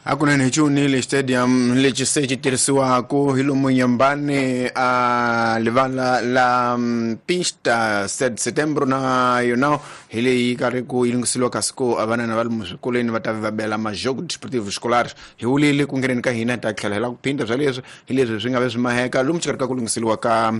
Hakunene hi Chiwunile Stadium lexi se xi tirhisiwaka hi lomu Nyambane a livala la pista 7 Setembro na yona hi leyi karhi ku yi lunghisiwa kasi ku vanana va lomu swikolweni va ta va bela majogo desportivo escolares. Hi wulile ku ngheneni ka hina hi ta tlhela hi lava ku phinda bya leswi hi leswi swi nga ve swi maheka lomu xikarhi ka ku lunghiseriwa ka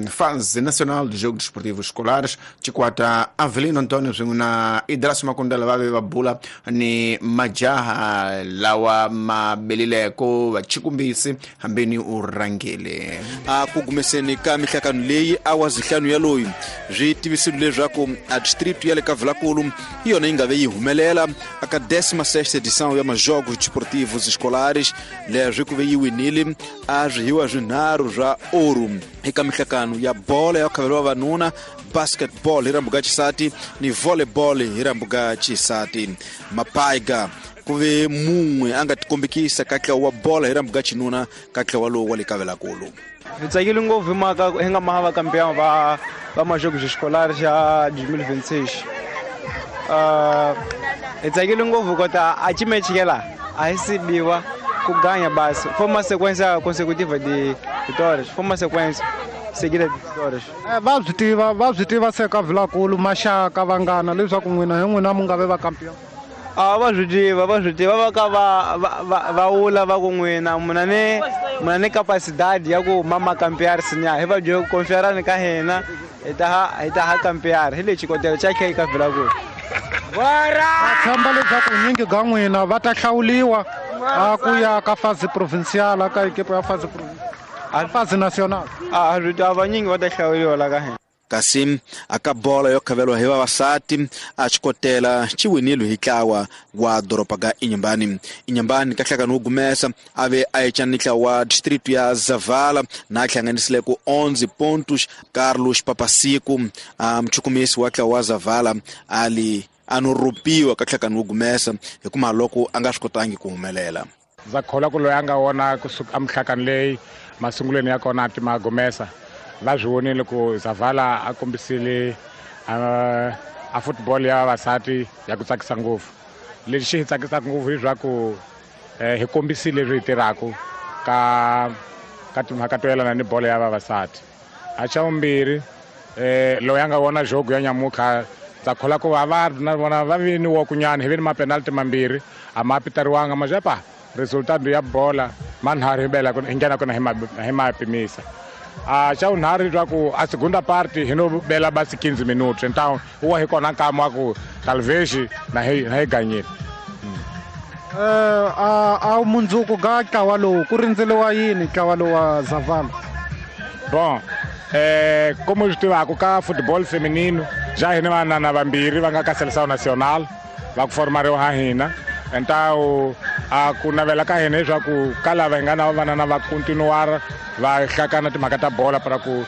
Fase Nacional de Jogos Desportivos Escolares. Chikwata Avelino Antonio swin'we na Idras Makundela va ve va bula ni majaha lawa ma belileko vachikumbisi hambeni u rhangele. A ku gumeseni ka mihlakano leyi a wa zihlanu ya loyi swi tivisile leswaku a distrito ya le ka Vilakulu hi yona yi nga ve yi humelela aka 16 edição ya majogos desportivos escolares. Leswi ku ve yi winile a swihiwa swinharhu swa oru eka mihlakano ya bolo ya khavelo wa vavanuna, basketball hi rambuka xisati ni volleyball hi rambuka xisati. Mapaiga ku ve mun'we a nga tikombekisa ka ntlawa wa bolo hi rambuka xinuna ka ntlawa lowu wa le Kavelakulu. Hi tsakile ngopfu hi mhaka hi nga maha va campeão va majogos escolares ya 2026. Hi tsakile ngopfu kota a chimechikela a hi sibiwa ku ganya basi. Foi uma sequência consecutiva de vitórias, foi uma sequência seguida de vitórias. Va swi tiva se ka Vilakulu, maxaka, vanghana, leswaku n'wina hi n'wina mu nga ve va campeão? A va swi tiva, va ka va wula va ku n'wina muna ni capacidade ya ku mama campear sinya hi va byo confiarani ka hina hi ta ha campear hi le xikotela xa khe ka Vilakulu. Va tshemba leswaku nyingi ka n'wina va ta hlawuliwa a ku ya ka fase provincial, ka equipe ya fase provincial, fase nacional? A swi tiva, vanyingi va ta hlawuliwa la ka hina. Kasi aka bolo yo khaveliwa hi vavasati a xikotela xi winile hi ntlawa wa doroba ga Inhambane. Inhambane ka nhlangano wo gumesa a ve a ecana ni ntlawa wa distrito ya Zavala na hlanganisile ku 11 pontos. Carlos Papasiku, a muchukumisi wa ntlawa wa Zavala, ali a no ropiwa ka nhlangano wo gumesa hikuva loko a nga swi kotangi ku humelela. Ndza kholwa ku loyi a nga wona kusuka emihlakani leyi masungulweni ya kona ti magumesa va swi vonile ku Zavala a kombisile a football ya vavasati ya ku tsakisa ngopfu. Lexi xi hi tsakisaka ngopfu hileswaku hi kombisile leswi hi tirhaka ka timhaka to yelana ni bolo ya vavasati. A xa vumbirhi, loyi a nga vona jogo ya nyamutlha, ndza kholwa ku va va na vona va vi ni wokunyana hi vi ni mapenalty mambirhi a ma pitariwanga majepa resultado ya bola manharhu hi bela hi nghena kona hi ma pimisa. A xa vunharhu leswaku a segunda parte hi no bela basi 15 minutos, então uwa hi kona nkama wa ku talvez na hi ganyile. A mundzuku ga ntlawa lowu ku rindzeliwa yini, ntlawa lowu wa Zavala? Bon, como swi tivaka ka football feminino ja hina vanana vambirhi va nga ka seleção nacional va ku formariwa ha hina. Então a ku navela ka hina leswaku ka lava hi nga na vanana va continuar va hlakana timhaka ta bola para ku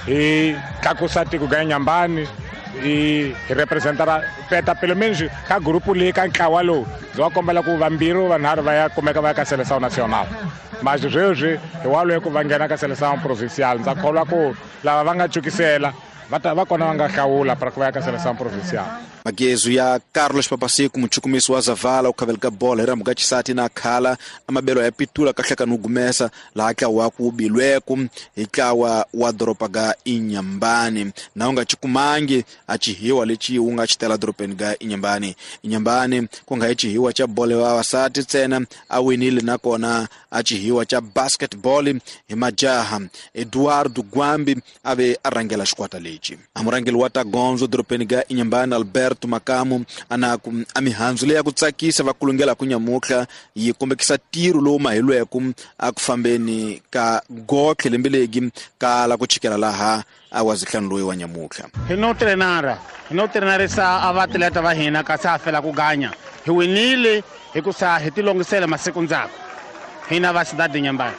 hi tlakusa tiko ga Nyambani, hi representara peta pelo menos ka grupo leyi ka ntlawa lowu. Ndzi va kombela ku vambirhi vanharhu va ya kumeka va ya ka seleção nacional, mas sweswi hi waloye ku va nghena ka seleção provincial. Ndza kholwa ku lava va nga cukisela va ta va kona va nga hlawula para ku va ya ka seleção provincial. Magezu ya Carlos Papasiku, muchukumisi wa Zavala u khaveleka bolo hi rambuka xisati na khala amabelo ya pitula ka hlakani wo gumesa laha ntlawa wa ku bilweku hi ntlawa wa doroba ga Inhambane na u nga cikumangi a cihiwa lexi wu nga xitela dorobeni ga Inhambane. Inhambane ku nga hi cihiwa xa bolo ya vavasati ntsena, a winile nakona a cihiwa xa basketball hi majaha. Eduardo Gwambi a ve a rhangela xikwata lexi. A murhangeri wa ta gondzo dorobeni ga Inhambane, Alberto Makamu, anaku a mihandzu leyi ya ku tsakisa va kulungela ku nyamutlha yi kombekisa ntirho lowu mahilweku a ku fambeni ka gotlhe lembe legi kala ku chikela laha a wa zihlanu loyi wa nyamutlha. Hi no trenara, hi no trenarisa a vaatleta va hina kasi ha fela ku ganya. Hi winile hikusa hi tilongisela masiku ndzhaku hina va Cidade Nyambane.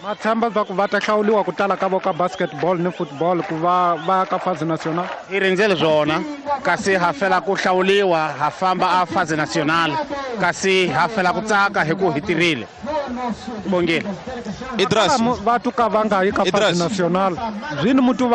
Ma tshemba swa ku va ta hlawuliwa ku tala ka vo ka basketball ni football ku va va ka fase nacional? Hi rindzele swona kasi ha fela ku hlawuliwa, ha famba a fase nacional kasi ha fela ku tsaka hi ku hi tirhile bongile. Idras. Va tuka va nga yi ka fase Idras. nacional zvini mutu va